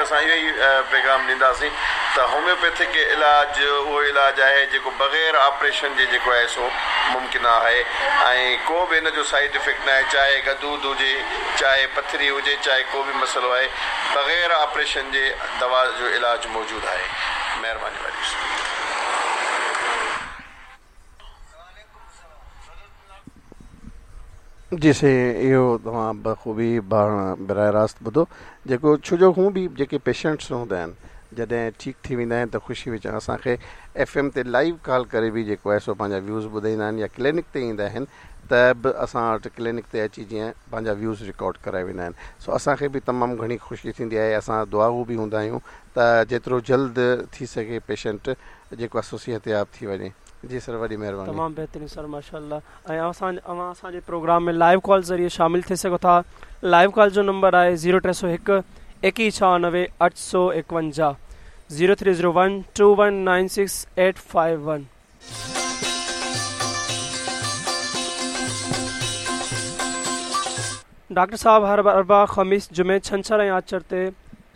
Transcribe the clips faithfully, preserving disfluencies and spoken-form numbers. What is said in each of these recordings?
اسان اهو ئي پيغام ڏينداسين ته هوميوپيٿڪ علاج اهو علاج آهي جيڪو بغير آپريشن جي جيڪو آهي سو ممڪن آهي ۽ ڪو به هن جو سائيڊ افيڪٽ نه آهي، چاهي غدود هجي، چاهي پٿري هجي، چاهي ڪو به مسئلو آهي، بغير آپريشن جي دوا جو علاج موجود آهي. مهرباني واري. جي سائين اهو توهان بخوبي براه راست ٻڌو جيڪو ڇو جو هون به جيڪي پيشنٽس هوندا آهن جڏهن ٺيڪ ٿي ويندا آهن ته خوشي وچان اسان کي ايف ايم تي لائيو ڪال ڪري به جيڪو آهي سو پنهنجا ويوز ٻڌائيندا آهن يا ڪلينڪ تي ايندا آهن ته به اسان وٽ ڪلينڪ تي اچي جيئن پنهنجا ويوز رڪارڊ ڪرائي ويندا آهن سو اسان کي به تمام گهڻي خوشي ٿيندي آهي. اسان دعاگو به هوندا آهيون ته جيترو جلد ٿي سگهي پيشنٽ جيڪو آهي سو صحتياب ٿي وڃي. جي سر وڏي مهرباني. تمام بهترين سر ماشاءالله. ۽ اوهان اوهان اسان جي پروگرام ۾ لائيو ڪال ذريعي شامل ٿي سگهو ٿا. لائيو ڪال جو نمبر آهي زيرو ٽي سؤ هڪ ايڪيهه ڇهانوي اٺ سؤ ايڪونجاهه zero three zero one two one nine six eight five one. Doctor صاحب هر اربع، خميس، جمعي، ڇنڇر ۽ آچر تي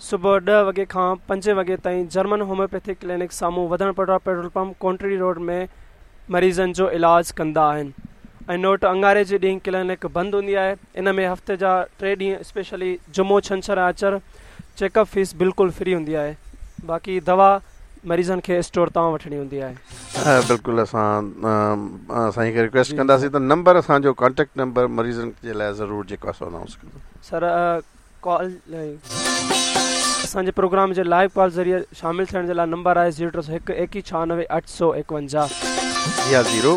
صبح ڏهه وڳي کان پنجين وڳي تائين جرمن هوميوپيٿڪ ڪلينڪ سامهون وڌڻ پٽا پيٽرول پمپ ڪونٽري روڊ ۾ مريضن جو علاج ڪندا آهن. ۽ نوٽ اڱاري جي ڏينهن ڪلينڪ بند هوندي آهي. ان ۾ هفتي جا ٽي ڏينهن اسپيشلي جمعو، ڇنڇر ۽ آچر چيڪ اپ فيس بلڪل فري هوندي آهي. باقي دوا مريضن کي اسٽور تان وٺڻي هوندي آهي. بلڪل اسان سائين کي رڪويسٽ ڪنداسين ته نمبر اسان جو ڪانٽيڪٽ نمبر مريضن جي لاءِ ضرور جيڪو آهي سو انائونس ڪندو. سر ڪال اسان جي پروگرام جي لائيو ڪال ذريعي شامل ٿيڻ جي لاءِ نمبر آهي زيرو ٽي سؤ هڪ ايڪيهه ڇهانوي اٺ سؤ ايڪونجاهه يا zero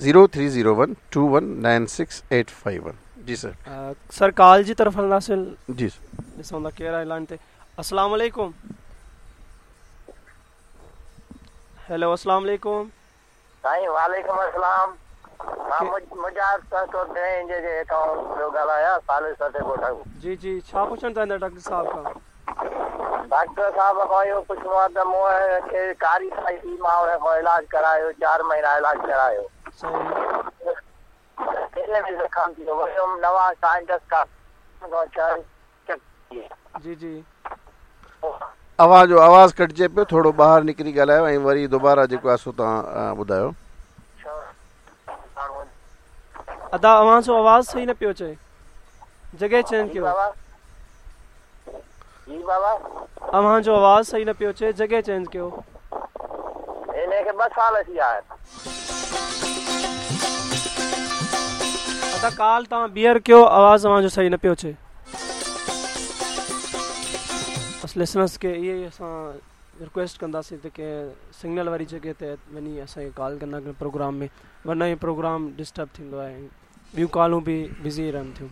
zero three zero one two one nine six eight five one. جي سر. سر ڪال جي طرف هلنداسين. جي سر. ڏسون ٿا ڪير آهي لائن تي. السلام عليڪم. هيلو السلام عليڪم. سائين وعليڪم السلام. مان مجاهد سهتو جي جي هتان پيو ڳالهايان سالس تي ڳوٺ. جي جي ڇا پڇڻ چاهيندا ڊاڪٽر صاحب کان؟ ڊاڪٽر صاحب کان اهو پڇڻو آهي ته مون کي ڪاري سائي ٿي، مان هن کان علاج ڪرايو، چار مهينا علاج ڪرايو. صحيح. ۾ زخم ٿي ويو، نوان سائنٽس کان. جي جي. اوهان جو آواز ڪٽجي پيو، ٿورو ٻاهر نڪري ڳالهايو ۽ وري دوباره جيڪو آهي سو توهان ٻڌايو. ادا اوهان جو آواز صحيح نه پيو اچي، جڳهه چينج ڪيو. جي بابا اوهان جو آواز صحيح نه پيو اچي، جڳهه چينج ڪيو. هن کي ٻه سال ٿي ويا آهن. ادا ڪال توهان ٻيهر ڪيو، آواز اوهان جو صحيح نه پيو اچي. بس لسنرس کي اهي ئي اسان رڪويسٽ ڪنداسين ته ڪنهن سگنل واري جڳهه تي وڃي اسان کي ڪال ڪندا ڪنهن پروگرام ۾، ورنه هي پروگرام ڊسٽرب ٿيندو آهي، ٻيون ڪالون به بزي رهن ٿيون.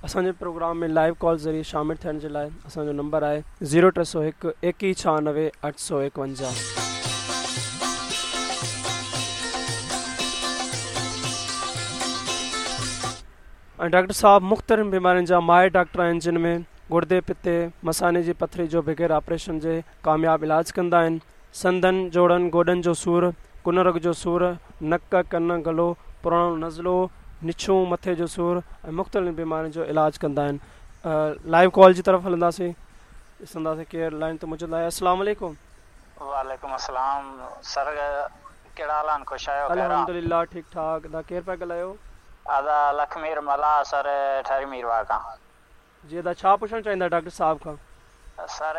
اسان جي پروگرام ۾ لائيو ڪال ذريعي شامل ٿيڻ جي لاءِ اسان جو نمبر آهي زيرو ٽي سؤ هڪ ايڪيهه ڇهانوي اٺ سؤ ايڪونجاهه. ۽ ڊاڪٽر صاحب مختلف بيمارين جا ماهر ڊاڪٽر آهن، جن ۾ گردي، پتي، مثاني جي پٿري جو بغير آپريشن جي ڪامياب علاج ڪندا آهن. سنڌن، جوڙن، گوڏن جو سور، ڪنرگ جو سور، نڪ، ڪن، گلو، پراڻو نزلو، نڇون، مٿي جو سور ۽ مختلف بيمارين جو علاج ڪندا آهن. لائيو ڪال جي طرف هلنداسين، ڏسنداسين ڪير لائن تي موجود آهي. السلام عليڪم. وعليڪم السلام سر، ڪهڙا حال آهن؟ خوش آهيو؟ الحمدلله ٺيڪ ٺاڪ. ادا ڪير پيا ڳالهايو؟ ادا لکمير ملاح سر، ٺري ميرواهه کان. جي ادا ڇا پڇڻ چاهيندا ڊاڪٽر صاحب کان؟ سر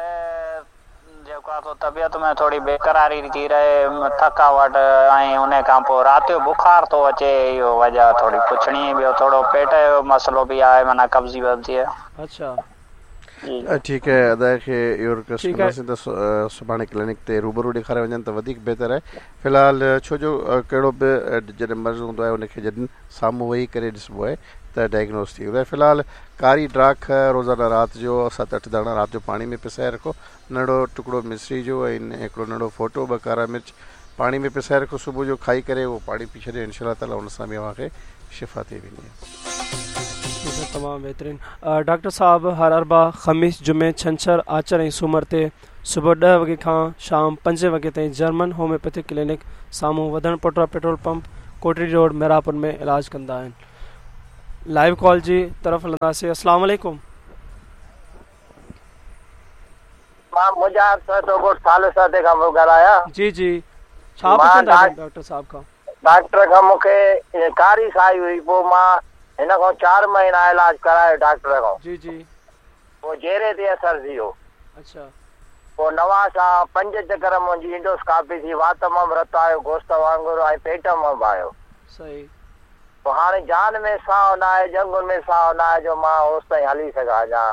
جيڪو آهي طبيعت ۾ ٿوري بيقراري ٿي رهي، ٿڪاوٽ ۽ ان کان پوءِ رات جو بخار ٿو اچي، اهو وجهه ٿوري پڇڻي. ٻيو ٿورو پيٽ جو مسئلو به آهي، معنيٰ قبضي وبزي. اڇا ٺيڪ آهي، ادا کي اهو رڪويسٽ ڪنداسين ته سڀاڻي ڪلينڪ تي روبرو ڏيکاري وڃن ته وڌيڪ بهتر آهي. في الحال ڇو جو ڪهڙو به جڏهن مرض هوندو آهي ان کي جڏهن سامهون ويهي ڪري ڏسبو آهي ته ڊائگنوز ٿي ويندو آهي. في الحال ڪاري ڊاک روزانه رات جو ست اٺ داڻا رات جو پاڻي ۾ پسائي رکو، ننڍڙو ٽڪڙو مصري جو ۽ هڪڙو ننڍڙو ڦوٽو، ٻه ڪارا مرچ پاڻي ۾ پسائي رکو، صبح جو کائي ڪري اهو پاڻي پي ڇڏيو، انشاء الله تعاليٰ ان سان به اوهان کي شفا ٿي ويندي. تمام بهترين. ڊاڪٽر صاحب هر اربع، خميس، جمعي، ڇنڇر، آچر ۽ سومر تي صبح ڏهه وڳي کان شام پنجين وڳي تائين جرمن هوميوپيٿڪ ڪلينڪ سامهون وڌڻ پٽا petrol pump Kotri road Mirapur ۾ علاج ڪندا آهن. लाइव कॉल जी तरफ़ हलंदासीं। अस्सलाम वालेकुम। मां मुजाहिद सर ॻोठ साल सादे खां पियो ॻाल्हायां। जी जी, छा पुछण था डॉक्टर साहब खां? डॉक्टर खां मूंखे कारी साई हुई, पोइ मां हिन खां चारि महीना इलाज करायो डॉक्टर खां। जी जी। पोइ जेरे ते असर थी वियो। अच्छा। पोइ नवां पंज चकर मुंहिंजी इंडोस्कोपी थी, वात मां बि रत आयो गोश्त वांगुरु ऐं पेट मां बि आयो। सही। पोइ हाणे जान में साहो न आहे, ॼंगुनि में साहो न आहे जो मां होसि ताईं हली सघां अञा।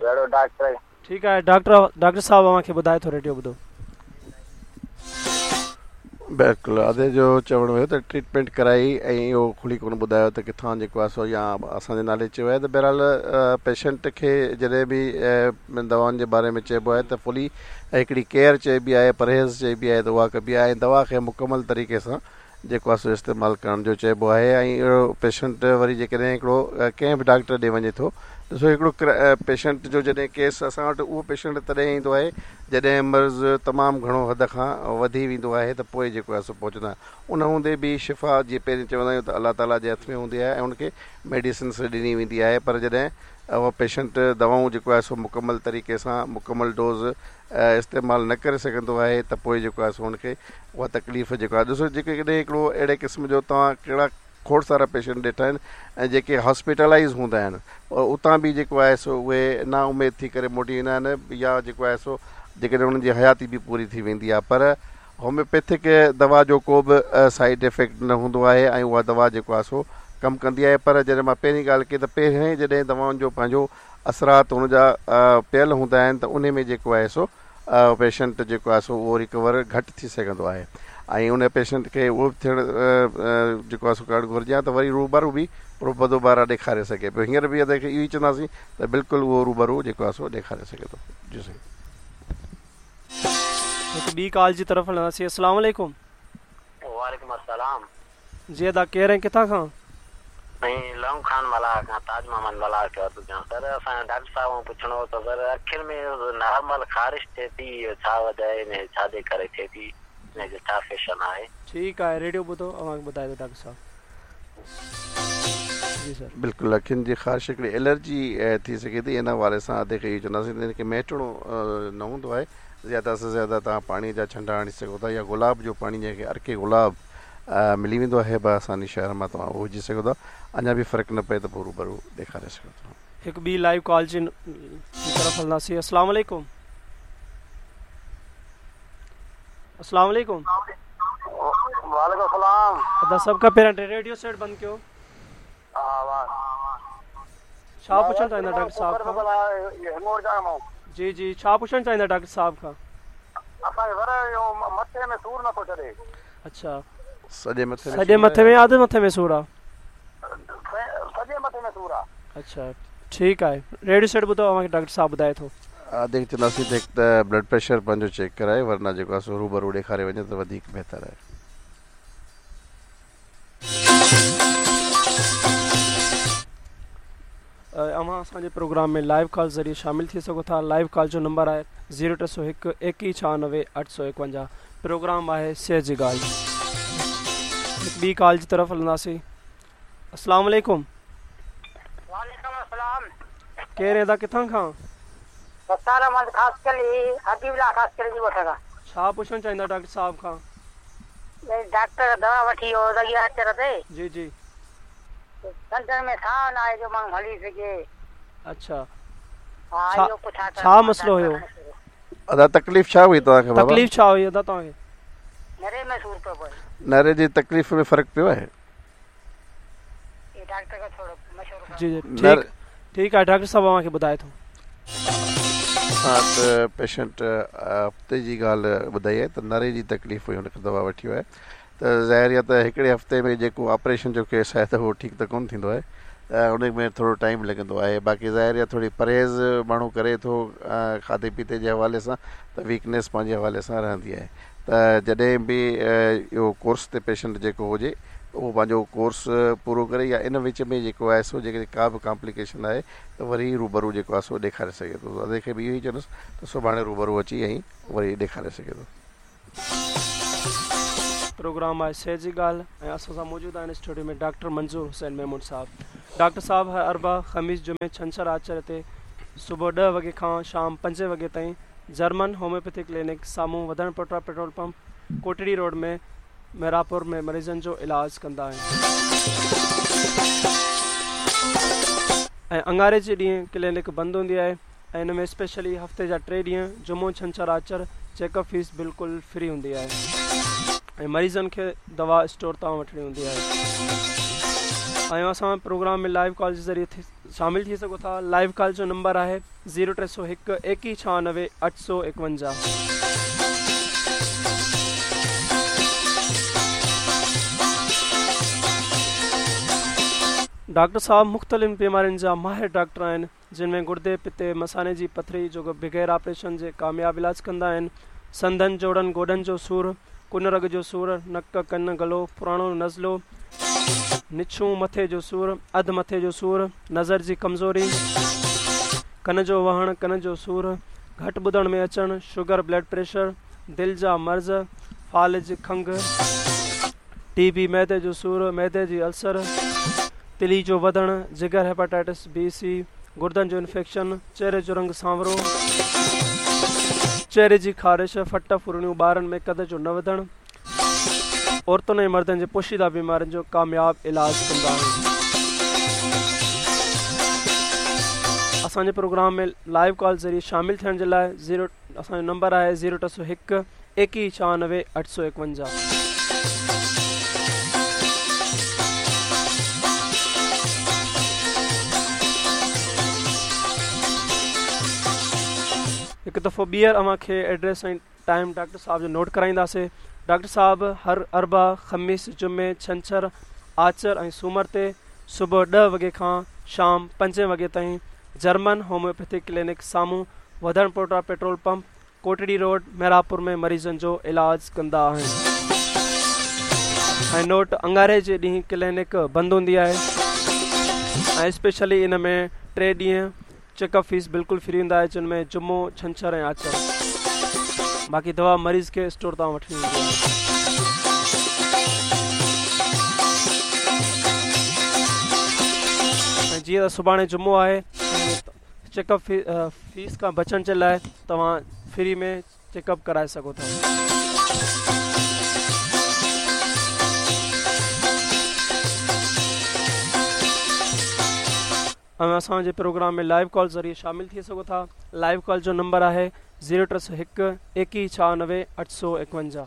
अहिड़ो डॉक्टर। ठीकु आहे, डॉक्टर डॉक्टर साहब अव्हांखे ॿुधाए थो, रेडियो ॿुधो। बिल्कुलु, अदे जो चवणु हुयो त ट्रीटमेंट कराई ऐं इहो खुली कोन ॿुधायो त किथां जेको आहे सो या असांजे नाले चयो आहे त बहरहाल पेशेंट खे जॾहिं बि दवाउनि जे बारे में चइबो आहे त फुली हिकिड़ी केयर चइबी आहे, परहेज़ चइबी आहे त उहा कबी आहे ऐं दवा खे मुकमल तरीक़े सां जेको आहे सो इस्तेमालु करण जो चइबो आहे। ऐं अहिड़ो पेशेंट वरी जेकॾहिं हिकिड़ो कंहिं बि डॉक्टर ॾे वञे थो ॾिसो, हिकिड़ो पेशेंट जो जॾहिं केस असां वटि उहो पेशेंट तॾहिं ईंदो आहे जॾहिं मर्ज़ तमामु घणो हद खां वधी वेंदो आहे त पोइ जेको आहे सो पहुचंदा आहिनि। उन हूंदे बि शिफ़ा जीअं पहिरीं चवंदा आहियूं त अलाह ताला जे हथ में हूंदी आहे ऐं उनखे मेडिसिन्स ॾिनी वेंदी आहे, पर जॾहिं उहो पेशेंट दवाऊं जेको आहे सो मुकमल तरीक़े सां मुकमल डोज़ इस्तेमालु न करे सघंदो आहे त पोइ जेको आहे सो हुनखे उहा तकलीफ़ जेको आहे। ॾिसो जेके कॾहिं हिकिड़ो अहिड़े क़िस्म जो तव्हां कहिड़ा खोड़ सारा पेशेंट ॾिठा आहिनि ऐं जेके हॉस्पिटलाइज़ हूंदा आहिनि उतां बि जेको आहे सो उहे ना उमेद थी करे मोटी ईंदा आहिनि या जेको आहे सो जेकॾहिं हुननि जी हयाती बि पूरी थी वेंदी आहे। पर होम्योपैथिक दवा जो को बि साइड इफ़ेक्ट न हूंदो आहे ऐं उहा दवा जेको आहे सो कमु कंदी आहे। पर जॾहिं मां पहिरीं ॻाल्हि कई त पहिरीं जॾहिं दवाउनि जो पंहिंजो असरात हुनजा पियल हूंदा आहिनि त उन में जेको आहे सो पेशेंट जेको आहे सो उहो रिकवर घटि थी सघंदो आहे ऐं उन पेशेंट खे उहो बि थियणु जेको आहे सो करणु घुरिजे त वरी रूबरू बि दोबारा ॾेखारे सघे पियो। हींअर बि असांखे इहो ई चवंदासीं त बिल्कुलु उहो रूबरू जेको आहे सो ॾेखारे सघे थो। जी साईं, हिकु ॿी कॉल जी तरफ़ हलंदासीं। अस्सलाम वालेकुम। वालेकुम अस्सलाम। जी अदा, केरु ऐं किथां खां? साईं लवंग खान मलाह खां, ताज मोहम्मद मलाह चवां थो पियो। सर असांजे डॉक्टर साहिब खां पुछणो हो त सर अखियुनि में नॉर्मल ख़ारिश थिए थी, इहो छा वजह आहे, इन छा जे करे थिए थी, इन जो छा फैशन आहे? ठीकु आहे, रेडियो ॿुधो, अव्हांखे ॿुधाए थो डॉक्टर साहिब। जी सर। बिल्कुलु, अखियुनि जी ख़ारिश हिकिड़ी एलर्जी थी सघे थी। इन हवाले सां अदे खे इहो चवंदासीं त हिनखे मेटणो न हूंदो आहे। ज़्यादा से ज़्यादा तव्हां पाणीअ जा छंडा हणी सघो था या गुलाब जो पाणी, जंहिंखे अर्के गुलाब मिली वेंदो आहे बआसानी शहर मां, तव्हां उहो विझी सघो था। अञा बि फ़र्क़ु न पए त पोइ रूबरू ॾेखारे सघो था। हिकु ॿी लाइव कॉल जी तरफ़ हलंदासीं। अस्सलाम वालेकुम। अस्सलाम वालेकुम। वालेकुम सलाम। अदा सभ खां पहिरियां रेडियो सेट बंदि कयो। छा पुछणु चाहींदा डॉक्टर साहब खां? जी जी, छा पुछणु चाहींदा डॉक्टर साहब खां? असांखे वर इहो मथे में सूर नथो छॾे। अच्छा, सॼे मथे सॼे मथे में अधु मथे में सूर आहे? सॼे मथे में सूर आहे। अच्छा, ठीकु आहे, रेडियो सेट ॿुधो, अव्हांखे डॉक्टर साहब ॿुधाए थो। अदे चवंदासीं त हिकु त ब्लड प्रेशर पंहिंजो चेक कराए, वरना जेको आहे सो रूबरू ॾेखारे वञे त वधीक बहितर आहे। अव्हां असांजे प्रोग्राम में लाइव कॉल ज़रिए शामिल थी सघो था। लाइव कॉल जो नंबर आहे ज़ीरो टे सौ हिकु एकवीह छहानवे अठ सौ एकवंजाह। प्रोग्राम आहे सेहत जी ॻाल्हि। ॿी कॉल जी तरफ़ हलंदासीं। अस्सलाम वालेकुम। वालेकुम अस्सलाम। केरु अदा, किथां खां? छा पुछणु चाहींदा डॉक्टर साहब खां? डॉक्टर दवा वठी वियो लॻी आचर ते। जी जी। कंधनि में साहो न आहे जो माण्हू हली सघे। अच्छा, हा, इहो पुछां छा मसइलो हुयो? अदा तकलीफ़ छा हुई तव्हांखे बाबा? तकलीफ़ छा हुई अदा तव्हांखे? नरे में सूर पियो पए। नरे जी तकलीफ़ में फ़र्क़ु पियो आहे? डॉक्टर खां थोरो मशवरो। जी जी, ठीकु ठीकु आहे, डॉक्टर साहिब अव्हांखे ॿुधाए थो। असां वटि पेशेंट हफ़्ते जी ॻाल्हि ॿुधाई आहे त नरे जी तकलीफ़ हुई, हुनखे दवा वठी वियो आहे त ज़ाहिर आहे त हिकिड़े हफ़्ते में जेको ऑपरेशन जो केस आहे त उहो ठीकु त कोन थींदो आहे, त उन में थोरो टाइम लॻंदो आहे। बाक़ी ज़ाहिर आहे थोरी परहेज़ माण्हू करे थो खाधे पीते जे हवाले सां त वीकनेस पंहिंजे हवाले सां रहंदी आहे। त जॾहिं बि इहो कोर्स ते पेशेंट जेको हुजे उहो पंहिंजो कोर्स पूरो करे या इन विच में जेको आहे सो जेकॾहिं का बि कॉम्प्लिकेशन आहे त वरी रूबरू जेको आहे सो ॾेखारे सघे थो। अदे खे बि इहो ई चवंदुसि त सुभाणे रूबरू अची ऐं वरी ॾेखारे सघे थो। प्रोग्राम आहे सेहत जी ॻाल्हि ऐं असां सां मौजूदु आहिनि स्टूडियो में डॉक्टर मंज़ूर हुसैन मेमून साहब। डॉक्टर साहब हर अरबा, ख़मीस, जुमे, छंछर, आचर ते सुबुह ॾह वॻे खां शाम पंजे वॻे ताईं जर्मन होम्योपैथी क्लिनिक साम्हूं वधण पटरा पेट्रोल पंप कोटड़ी रोड में मेरापुर में मरीज़नि जो इलाज कंदा आहिनि ऐं अंगारे जे ॾींहुं क्लिनिक बंदि हूंदी आहे ऐं हिन में स्पेशली हफ़्ते जा टे ॾींहं जुमो, छंछर, आचर चेकअप फीस बिल्कुलु फ्री हूंदी आहे ऐं मरीज़नि खे दवा स्टोर तां वठिणी हूंदी आहे। ऐं असां प्रोग्राम में लाइव कॉल जे ज़रिए थी शामिल थी सघो था। लाइव कॉल जो नंबर आहे ज़ीरो टे सौ हिकु एकवीह छहानवे अठ सौ एकवंजाह। डॉक्टर साहब मुख़्तलिफ़ बीमारियुनि जा माहिर डॉक्टर आहिनि, जिन में गुर्दे, पित्ते, मसाने जी पथरी जो बग़ैर ऑपरेशन जे कामयाब इलाज कंदा आहिनि, संधनि, जोड़नि, गोॾनि जो सूर, कुन रग जो सूर, नक, कन, गलो, पुराणो नज़लो, निछूं, मथे जो सूर, अधु मथे जो सूर, नज़र जी कमज़ोरी, कन जो वहण, कन जो सूर, घटि ॿुधण में अचणु, शुगर, ब्लड प्रेशर, दिलि जा मर्ज़, फ़ालिज, खंघ, टी बी, मैदे जो सूर, मैदे जी अल्सर, तिली जो वधणु, जिगर, हेपाटाइटिस बी सी, गुर्दनि जो इन्फेक्शन, चेहरे जो रंग सांवरो, चेहरे जी ख़ारिश, फट फुरणियूं, ॿारनि में कद जो न वधणु, औरतुनि ऐं मर्दनि जे पोशीदा बीमारियुनि जो कामयाब इलाज कंदा आहिनि। असांजे प्रोग्राम में लाइव कॉल ज़रिए शामिल थियण जे लाइ ज़ीरो असांजो नंबर आहे ज़ीरो टे सौ हिकु एकवीह छहानवे अठ सौ एकवंजाह। हिकु दफ़ो ॿीहर अव्हांखे एड्रेस ऐं टाइम डॉक्टर साहब जो नोट कराईंदासीं। डॉक्टर साहब हर अरबा, ख़मीस, जुमे, छंछर, आचर ऐं सूमर ते सुबुह ॾह वॻे खां शाम पंजे वॻे ताईं जर्मन होम्योपैथी क्लिनिक साम्हूं वधण पोटा petrol pump Kotri road Merapur में मरीज़नि जो इलाज कंदा आहिनि। ऐं नोट, अंगारे जे ॾींहुं क्लिनिक बंदि हूंदी आहे ऐं स्पेशली इन में टे ॾींहं चेकअप फीस बिल्कुलु फ्री हूंदा आहे, जिन में जुमो, छंछर ऐं आचर। बाक़ी दवा मरीज़ खे स्टोर तां वठिणी हूंदी आहे। ऐं जीअं त सुभाणे जुमो आहे, चेकअप फी फीस खां बचण जे लाइ तव्हां फ्री में चेकअप कराए सघो था। ऐं असांजे प्रोग्राम में लाइव कॉल ज़रिए शामिल थी सघो था। लाइव कॉल जो नंबर आहे ज़ीरो टे सौ हिकु एकवीह छहानवे अठ सौ एकवंजाह।